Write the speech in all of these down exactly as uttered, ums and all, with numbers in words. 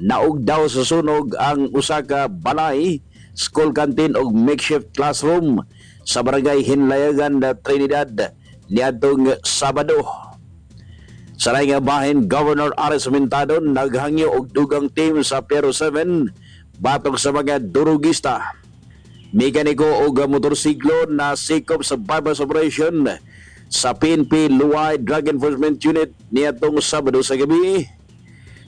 Naog daw sa sunog ang usa ka balay, school canteen ug makeshift classroom sa barangay Hinlayagan, Trinidad niadtong Sabado. Sa laing nga bahin, Governor Aris Mintado naghangyo og dugang team sa P R seven batok sa mga durugista. Mekaniko og motorsiklo na sikop sa bypass operation sa P N P Loay Drug Enforcement Unit niadtong Sabado sa gabi.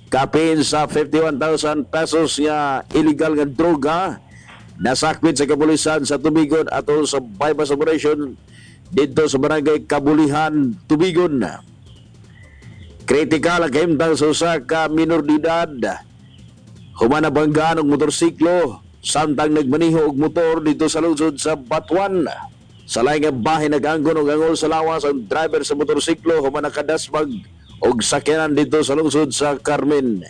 Kapin sa fifty-one thousand pesos nga illegal nga droga nasakpit sa kapulisan sa Tubigon atol sa bypass operation didto sa barangay Kabulihan, Tubigon. Kritikal ang kahimtang sa usa ka minor de edad. Human nabanggaan og motorsiklo samtang nagmaneho og motor dito sa lungsod sa Batuan. Sa laing nga bahin, nag-anggon og angol sa lawas ang driver sa motorsiklo human nakadasmag og sakyanan dito sa lungsod sa Carmen.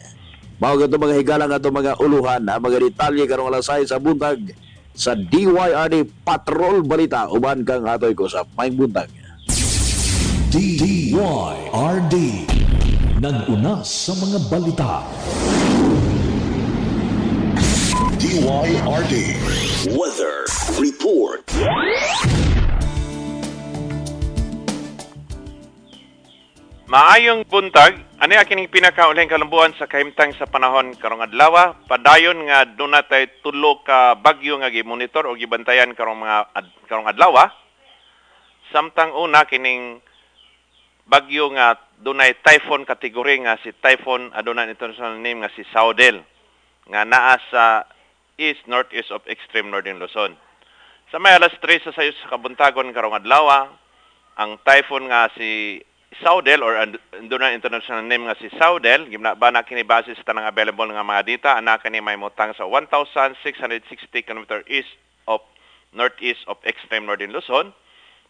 Mao gadto mga higalang ato mga uluhan, ang mga detalye karong alas sais sa buntag sa D Y R D Patrol Balita. Uban kang atoy ko sa maayong buntag. D Y R D, nag-una sa mga balita. D Y R D Weather Report. Maayong buntag, ani kining pinakaulahing kalambuan sa kahimtang sa panahon karong adlaw, padayon nga duna tay tulo ka bagyo nga gimonitor o gibantayan karong mga ad, karong adlaw. Samtang una kining bagyo nga dunay typhoon kategory nga si Typhoon aduna international name nga si Saudel nga naa sa east northeast of extreme northern Luzon. Sa may alas tres sa sayo sa kabuntagon karong adlaw, ang typhoon nga si Saudel or aduna international name nga si Saudel, gimna ba na kini base sa tanang available nga mga data, ana kini may mutang sa one thousand six hundred sixty kilometer east of northeast of extreme northern Luzon.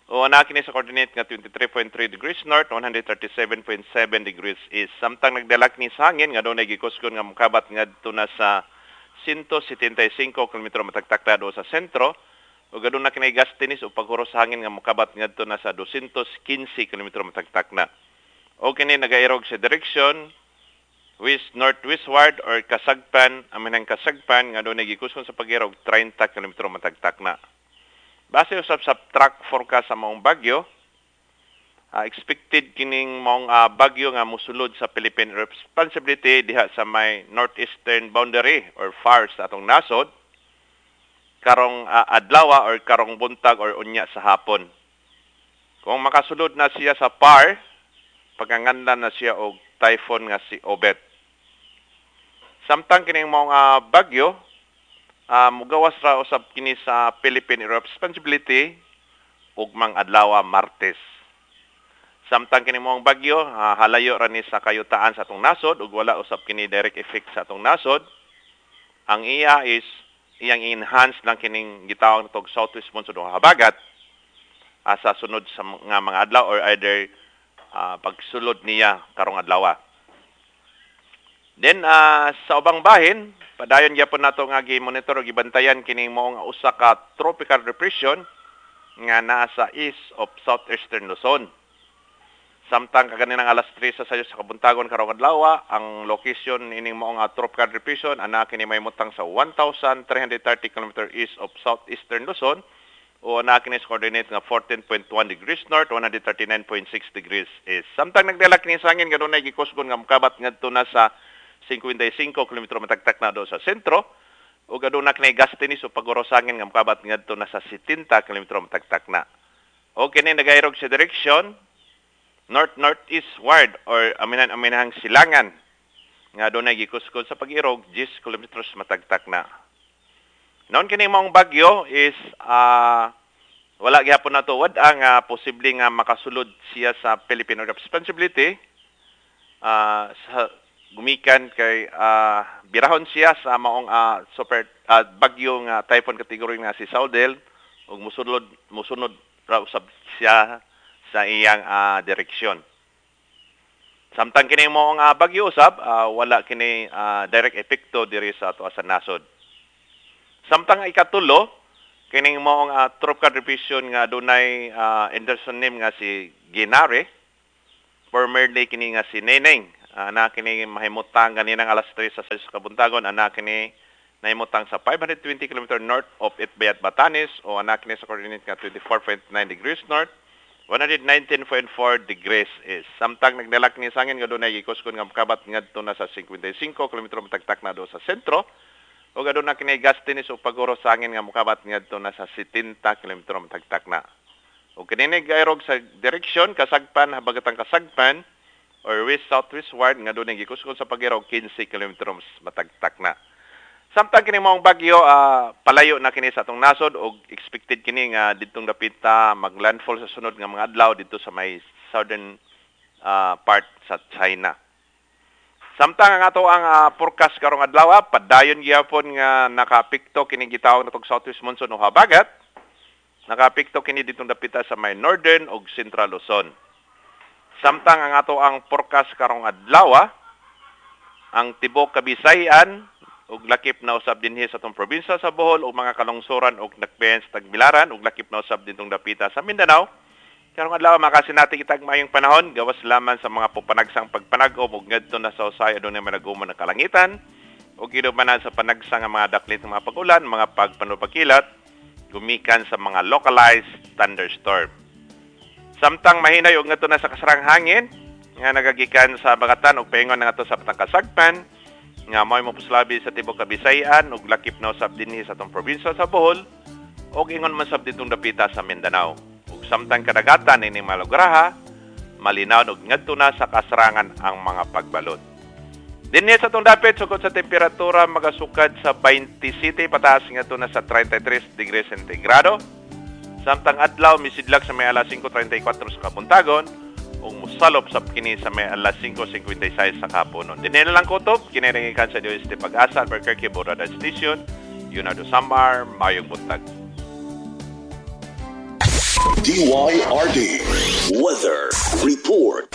O ana kini sa coordinate nga twenty-three point three degrees north, one hundred thirty-seven point seven degrees east. Samtang nagdalak ni sa hangin nga dunay gikusgon nga mokabat ngadto na sa one seventy-five kilometro matagtakda do sa sentro. O gaduna kini gas tinis o paghuros sa hangin nga mokabat ngadto na sa two hundred fifteen kilometro matagtak na. O kini nagairog sa direction west northwestward or kasagpan, aminang kasagpan nga dunay gikusgon sa pag-irog thirty kilometro matagtak na. Base usab sa track forecast sa maong bagyo, uh, expected kining maong, uh, bagyo nga mosulod sa Philippine Responsibility diha sa may northeastern boundary or far sa atong nasod karong, uh, adlaw or karong buntag or unya sa hapon. Kung makasulod na siya sa P A R, paganganlan na siya og typhoon nga si Obet. Samtang kining maong, uh, bagyo, Uh, mugawas ra usab kini sa Philippine Responsibility ugmang adlaw Martes. Samtang kini maong bagyo, uh, halayo ra ni sa kayutaan sa atong nasod ug wala usab kini direct effect sa atong nasod. Ang iya is iyang enhance lang kining gitawag natog southwest monsoon o habagat, uh, sa sunod sa nga mga adlaw or either, uh, pagsulod niya karong adlaw. Then, uh, sa ubang bahin, padayon gyapon nato nga gi-monitor o gibantayan kining maong usa ka tropical depression nga naa sa east of southeastern Luzon. Samtang kaganinang alas tres sa sayo sa kabuntagon karong adlaw, ang location ining maong tropical depression ana kini may mutang sa one thousand three hundred thirty kilometer east of southeastern Luzon o ana kini sa coordinate nga fourteen point one degrees north, one hundred thirty-nine point six degrees east. Samtang nagdala kini sa hangin kanunay gikusgon nga mokabat ngadto na sa fifty-five kilometro matagtak na do sa sentro ug aduna kini gas tinis o paguro sa hangin nga mokabat ngadto na sa seventy kilometro matagtak na. O kini nagairog sa direction north northeastward or aminan-aminahang silangan nga adunay gikuskod sa pag-irog ten kilometros matagtak na. Noon kini maong bagyo is, uh, wala gihapon nato wad-a nga posible nga makasulod siya sa Philippine Responsibility, uh, sa gumikan kay, uh, birahon siya sa maong, uh, super, uh, bagyo nga typhoon category nga si Saudel ug musulod musunod ra usab siya sa iyang, uh, direksyon. Samtang kini maong, uh, bagyo usab, uh, wala kini, uh, direct epekto diri sa ato sa nasod. Samtang ikatulo kining maong, uh, tropical depression nga adunay, uh, international name nga si Ginari, formerly kini nga si Neneng. Uh, ana kini mahimutang ganinang alas tres sa sa kabuntagon. Ana kini nahimutang sa five hundred twenty kilometers north of Itbayat, Batanes, o ana kini sa coordinate nga twenty-four point nine degrees north, one hundred nineteen point four degrees east. Samtang nagdalak ni sa hangin nga dunay gikuskon nga mokabat ngadto na sa fifty-five kilometro matagtak na do sa sentro, o aduna kini gustiness o paguro sa hangin nga mokabat ngadto na sa seventy kilometro matagtak na. O kini gairog sa direksyon kasagpan habagatang kasagpan or west southwestward nga dunay gikuskon sa pag-irog fifteen kilometro matagtak na. Samtang kini maong bagyo, ah, palayo na kini sa atong nasod og expected kini nga ditong dapita maglandfall sa sunod nga mga adlaw dito sa may southern ah, part sa China. Samtang ang ato ang ah, forecast karong adlaw, ah, padayon gihapon nga nakaapekto kini gitawag natong southwest monsoon o habagat. Nakaapekto kini ditong dapita sa may northern ug central Luzon. Samtang ang ato ang forecast karong adlaw, ah, ang tibok Kabisayan ug lakip na usab dinhi sa atong probinsya sa Bohol ug mga kalungsuran ug dakbayan sa Tagbilaran ug lakip na usab ditong dapita sa Mindanao. Karong adlaw, makasinati kitag maayong panahon gawas lamang sa mga pupanagsang pagpanag-om ug ngadto na sa usay adunay manag-umon ng kalangitan ug gidumanan sa panagsang nga mga daklit ng mga pag-ulan, mga pagpanupakilat gumikan sa mga localized thunderstorm. Samtang mahinay og ngadto na sa kasarang hangin nga nagagikan sa habagatan ug paingon na ngadto sa Patang Kasagpan nga mo'y mopuslabi sa tibok Kabisayan ug lakip na usab dinhi sa atong probinsya sa Bohol ug ingon man sab ditong dapita sa Mindanao. Ug samtang kadagatan ini malugraha, malinaw ug ngadto na sa kasarangan ang mga pagbalot. Dinhi sa atong dapit, sukod sa temperatura magasukad sa twenty-seven pataas ngadto na sa thirty-three degrees centigrado. Samtang adlaw misidlag sa may alas singko trentay kwatro sa kabuntagon ug mosalop sab kini sa may alas singko singkwentay sais sa kahaponon. Dinhi na lang kutob, kini gikan sa D O S T Pag-asa, Albuquerque Radar Station, Leonardo Samar, maayong buntag. D Y R D Weather Report.